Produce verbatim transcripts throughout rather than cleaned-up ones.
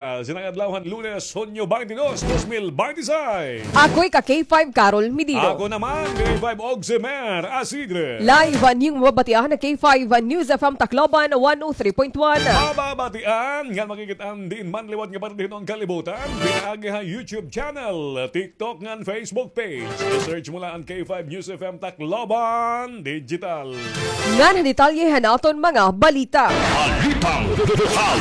Sinang adlaw han Lunes, Hunyo twenty-two, dos mil twenty-six. Ako hi ka K five Carol Medido. Ako naman, K five Oximer Asidre. Live an iyo mababatian ha K five News F M Tacloban one oh three point one. Mababatian ngan makikit-an diin man liwat nga parte hiton kalibutan. Pinaagi ha YouTube channel, TikTok ngan Facebook page. I-search mo la an K five News F M Tacloban Digital. Ngan detalye han aton mga balita. Balitang lokal.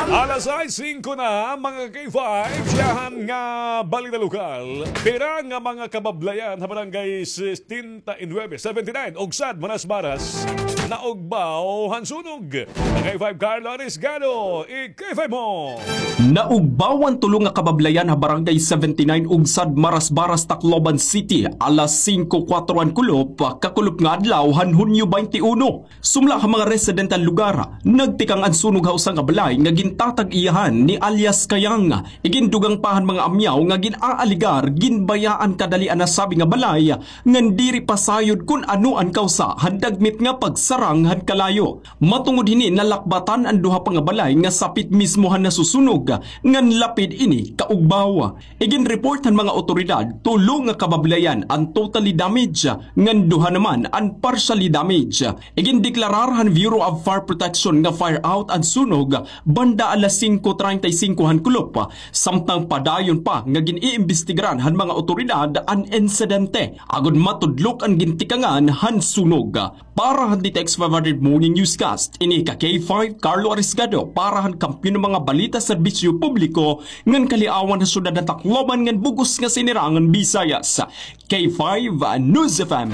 Alas sais singko na, mga K five, siyahan nga balita lokal. Pira nga mga kabablayan ha barangay sesenta y nuebe, seventy-nine, ug sad Marasbaras, naugbaw han sunog. K five Carlo Arisgado, i-K five mo. Naugbaw an tulo nga kabablayan ha Barangay seventy-nine ug sad Marasbaras, Tacloban City, alas singko kuwatro han kulop, kakulop nga adlaw han Hunyo twenty-one. Sumala ha mga residente han lugar, nagtikang an sunog ha usa nga balay nga gintatag-iyahan ni alias Kayang. Igindugang pa han mga amyaw nga gin-aalegar ginbayaan kadali an nasabi nga balay ngan diri pa sayod kon ano an kawsa han dagmit nga pagsarang han kalayo. Matungod hini, nalakbatan an duha pa nga balay nga sapit mismo han nasusunog, ngan lapid ini kaugbaw. Iginreport han mga awtoridad, tulo nga kabablayan an totally damage, ngan duha naman an partially damage. Igindeklarar han Bureau of Fire Protection nga fire out an sunog banda alas singko treinta y cinco han kulop, samtang padayon pa nga gin-iimbestigaran han mga awtoridad an insidente agod matudlok an gintikangan han sunog. Para han D T X five hundred Morning Newscast, ini ka K five Carlo Arisgado para han Kampiyon nga mga Balita, Serbisyo Publiko ngan Kaliawan ha Syudad han Tacloban ngan bug-os nga Sinirangan Visayas. K five News F M.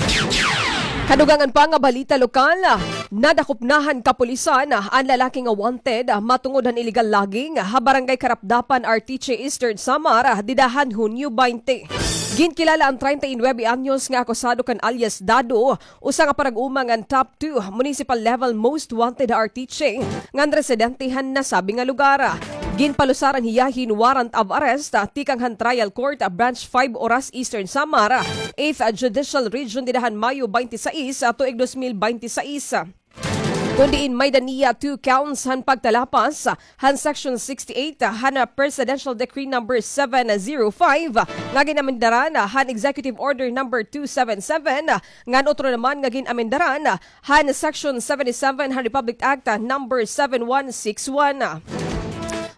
Kadugangan pa nga balita lokal, nadakop na han kapulisan an lalaki nga wanted matungod han illegal logging ha Barangay Carapdapan, Arteche, Eastern Samar, dida han Hunyo twenty. Ginkilala an treinta y nuebe anyos nga akusado kan alias Dado, usa nga parag-uma ngan top two municipal level most wanted ha Arteche, ngan residente han nasabi nga lugar. Ginpalusaran hiya hin warrant of arrest tikang han Trial Court, Branch five Oras, Eastern Samar, Eighth Judicial Region, dida han Mayo twenty-six, tuig dos mil twenty-six. Kon diin may-ada niya two counts han pagtalapas han Section sixty-eight han Presidential Decree number seven zero five nga gin-amendaran han Executive Order number two seven seven, ngan utro naman nga gin-amendaran han Section seventy-seven han Republic Act number seven one six one.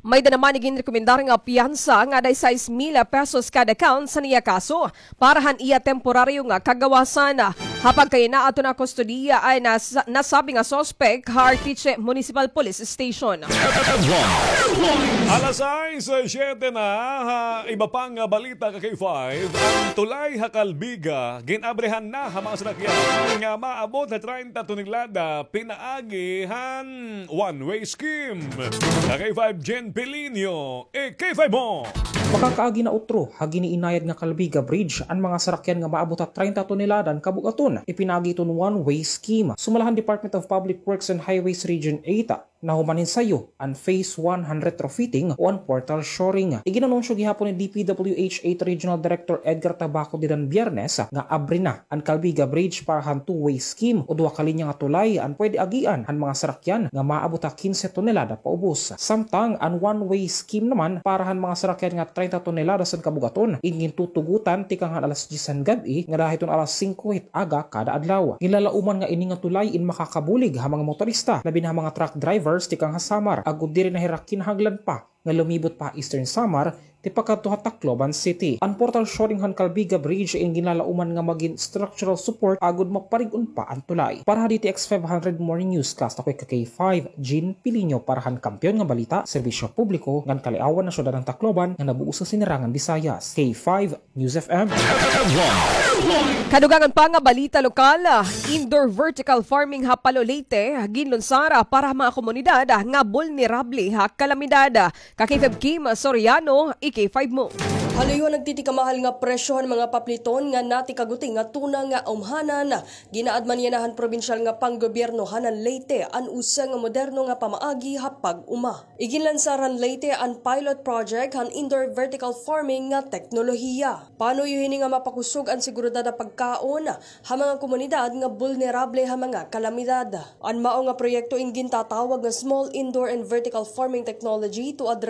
May-ada naman iginrekomendar nga piyansa nga dieciséis mil pesos kada count han iya kaso para han iya temporaryo nga kagawasan. Ha pagkayana, adto na kustodiya an nas-, nasabi nga suspek ha Arteche Municipal Police Station. Alas sais siyete na, ha iba pa nga balita ka K five, an tulay ha Calbiga gin-abrihan na ha mga sarakyan nga maabot ha treinta tonelada pinaagi han one-way scheme. Ka K five Jen Pilinio, i-K five mo. Makakaagi na utro ha giniinayad nga Calbiga Bridge an mga sarakyan nga maabot ha treinta tonelada an kabug-aton, ipinaagi hiton one-way scheme. Sumala han Department of Public Works and Highways Region eight, nahuman hin sayo an Phase one han retrofitting o an portal shoring. Iginanunsyo gihapon ni D P W H eight Regional Director Edgar Tabaco dida han Biyernes nga abri na an Calbiga Bridge para han two-way scheme o duha ka linya nga tulay an pwede agian han mga sarakyan nga maabot ha kinse tonelada paubos. Samtang an one-way scheme naman para han mga sarakyan nga treinta toneladas an kabug-aton, in gintutugotan tikang han alas diyes han gab-i ngada hiton alas singko hit aga kada adlaw. Ginlalauman nga ini nga tulay in makakabulig ha mga motorista, labi na ha mga truck drivers tikang ha Samar, agod diri na hira kinahanglan pa nga lumibot pa ha Eastern Samar tipakadto ha Tacloban City. An portal shoring han Calbiga Bridge in ginlalauman nga magin structural support agod maparig-on pa an tulay. Para ha D T X five hundred Morning Newscast, ako hi ka K five, Jean Pilinio, para han Kampiyon nga Balita, Serbisyo Publiko, ngan Kaliawan ha Syudad han Tacloban, nga nabug-os nga Sinirangan Visayas. K five News F M. Kadugangan pa nga balita lokal, indoor vertical farming ha Palo, Leyte, ginlunsara para ha mga komunidad nga bulnerable ha kalamidad. Ka K five Kim Soriano, i-K five mo. Haluyo han nagtitikamahal nga presyo han mga papliton nga natikaguti nga tuna nga umhanan, ginaadman yana han probinsyal nga panggobyerno han Leyte an usa nga moderno nga pamaagi ha pag-uma. Iginlansar han Leyte an pilot project han indoor vertical farming nga teknolohiya. Panuyo hini nga mapakusog an seguridad ha pagkaon ha mga komunidad nga bulnerable ha mga kalamidad. An mao nga proyekto in gintatawag nga Small Indoor and Vertical Farming Technology to address